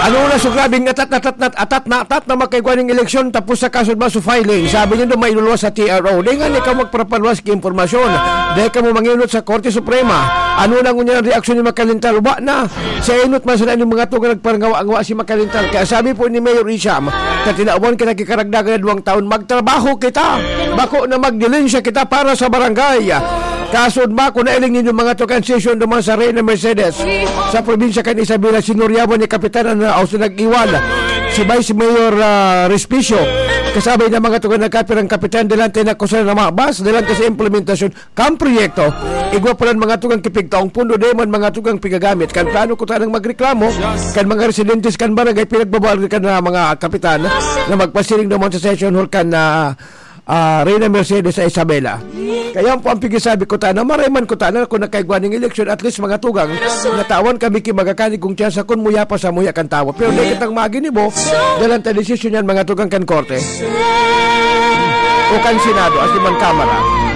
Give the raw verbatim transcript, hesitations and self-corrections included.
Ano na so grabing atat na atat na atat na atat na makaigwa ning eleksyon tapos sa kaso ba so filing? Sabi nindo may luluwas sa T R O. Di nga ni ka magparapaluwas ki impormasyon. Di ka mo manginot sa Korte Suprema. Ano na ngunyan ang reaksyon ni Makalintal? Wa na. Sa inot man sana ni mga tugang nagparangawa-ngawa si Makalintal. Kaya sabi po ni Mayor Isham, katinawan ka nakikaragdagan na duwang taon, magtrabaho kita. Bako na magdilensya kita para sa barangay. Kasunod ba, kung nailing ninyo mga tugang sesyon naman sa Reyna Mercedes, sa probinsya kan Isabela, sinuryawan ni Kapitan na o sa nag-iwal, si Vice Mayor ah, Respicio. Kasabay na mga tugang nagkapirang kapitan, dalante na kusa na mabas, dalante sa implementasyon kan proyekto. Igwa pa lang mga tugang kipigtaong pundo, di man mga tugang pigagamit. Kan plano ko tanang magreklamo, kan mga residentes kan barangay, pinagbabawal kan ah, mga kapitan na magpasiring naman sa session hall kan ah, ah, Reyna Mercedes sa Isabela. Kaya po ang pigisabi ko tana, maray man ko tana kung nakaigwa ning eleksyon, at least mga tugang, natawan kami ki magakanig kung tsansa kung muya pa sa muya kan tawo. Pero di kitang maginibo, dalan ta desisyon yan mga tugang kan korte. O kan Senado, as in man Kamara.